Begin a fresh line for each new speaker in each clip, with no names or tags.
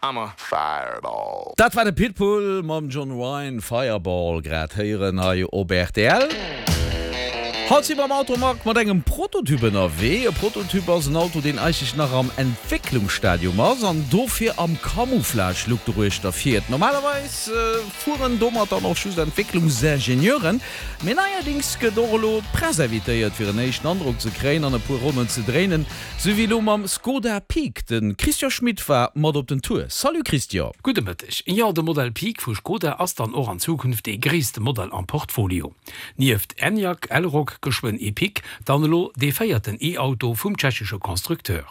I'm a fireball.
Dat war de Pitbull mam John Wine, Fireball, grad héieren hei op rtl. Haut si mer am Automag mat engem Prototyp ënnerwee. E Prototyp ass en Auto, deen eigentlech nach am Entwécklungsstadium ass an dofir am Camouflage-Look doruechter fiert. Normalerweis fueren domat dann och just Entwécklungsingenieuren, mee neierdings gëtt och elo d'Press invitéiert, fir en éischten Androck ze kréien an e puer Ronnen ze dréinen. Sou wéi elo mam Skoda Peak. De Christian Schmit war mat op den Tour. Salut Christian.
Gudde Mëtteg. Jo, de Modell Peak vu Skoda ass dann och an Zukunft dee gréisste Modell am Portfolio. Nieft Enyaq, Elroq, geschwënn Epiq, dann elo dee véierten E-Auto vum tschechesche Constructeur.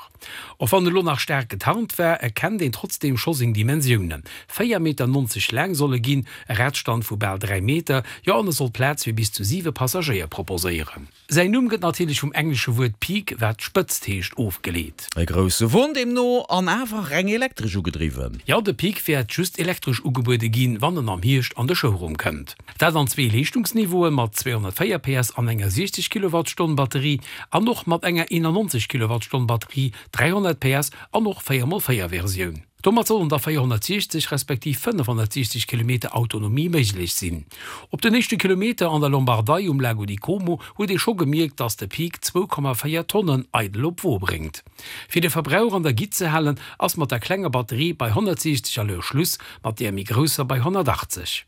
Och wann elo nach staark getarnt war, erkennt een trotzdeem scho seng Dimensiounen, 4 Meter 90 laang soll e ginn, e Radstand vu bal 3 Meter, jo an e soll Plaz fir bis zu 7 Passagéier proposéieren. Säin Numm gëtt natierlech vum englesche Wuert peak, wat Spëtzt heescht, ofgeleet.
E grousse Won deemno, an awer reng elektresch ugedriwwen.
Jo, de Peak wäert just elektresch ugebuede ginn, wann en am Hierscht an de Showroom kënnt. Dat an zwee Leeschtungsniveauen, mat 204 PS an enger 60 Kilowattstonn Batterie an och mat enger 91 Kilowattstonn Batterie, 300 PS an och 4 x 4 Versioun. Domat sollen da 460 respektiv 560 Kilometer Autonomie méiglech sinn. Op den éischte Kilometer an der Lombardei um Lago di Como huet ee scho gemierkt, dass de Peak 2,4 Tonnen eidel op d'Wo bréngt. Fir de Verbrauch an der Gitt ze halen, ass mat der klenger Batterie bei 160 à l'heure Schluss, mat där méi grousser bei 180.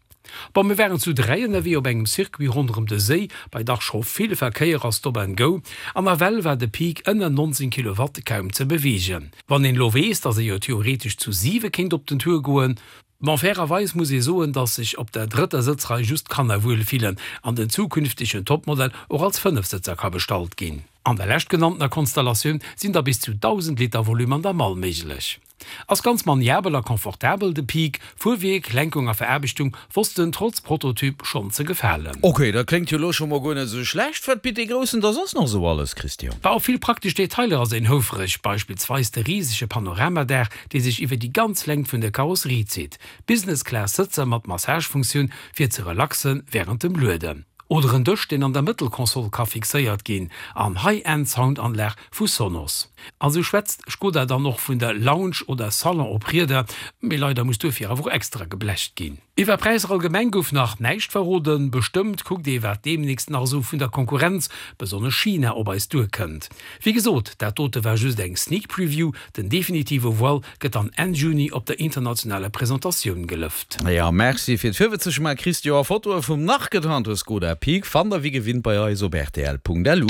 Bon, mir waren zu 3 ënnerwee op engem Circuit ronderëm de Séi, bei dach scho vill Verkéier a Stop and Go, an nawell war de Peak ënner 19 Kilowatt kaum ze beweegen. Wann een elo weess, dass ee jo theoretesch zu 7 kéint op den Tour goen. Bon, fairerweis muss ee soen, dass sech op der drëtter Sëtzrei just d'Kanner wuel fillen an den zukünftegen Topmodell och als Fënnefsëtzer ka bestallt ginn. An der leschtgenanntener Konstellatioun sinn da bis zu 1.000 Liter Volume an der Mall méiglech. Ass ganz maniabel a confortabel, de Peak. Fuerwierk, Lenkung a Veraarbechtung wossten trotz Prototyp schonn ze gefalen.
Ok, dat kléngt jo elo scho mol guer net esou schlecht. Wat bitt dee Groussen da soss nach esou alles, Christian?
Bah, op vill praktesch Detailer ass een houfreg, beispillsweis de risege Panoramadaach, dee sech iwwer déi ganz Längt vun der Karosserie zitt, Business-Class Sëtzer mat Massagefunktioun fir ze relaxe wärend dem Lueden, oder en Dësch, deen an der Mëttelkonsole ka fixéiert ginn, an High-End Soundanlag vu Sonos. A sou schwätzt Skoda dann och vun der Lounge oder Salon op Rieder, mee leider muss duerfir awer och extra geblecht ginn. Iwwer Präisser allgemeng gouf nach näischt verroden, bestëmmt kuckt ee wat deemnächst nach esou vun der Konkurrenz, besonnesch China, op eis duerkënnt. Wéi gesot, dat dote war just eng Sneak Preview, den definitive Voile gëtt dann Enn Juni op der internationaler Presentatioun gelëft.
Jo, merci fir d'Virwëtzegma Christian. Fotoe vum nach getarnte Skoda Peak fannt der wéi gewinnt bei eis op rtl.lu.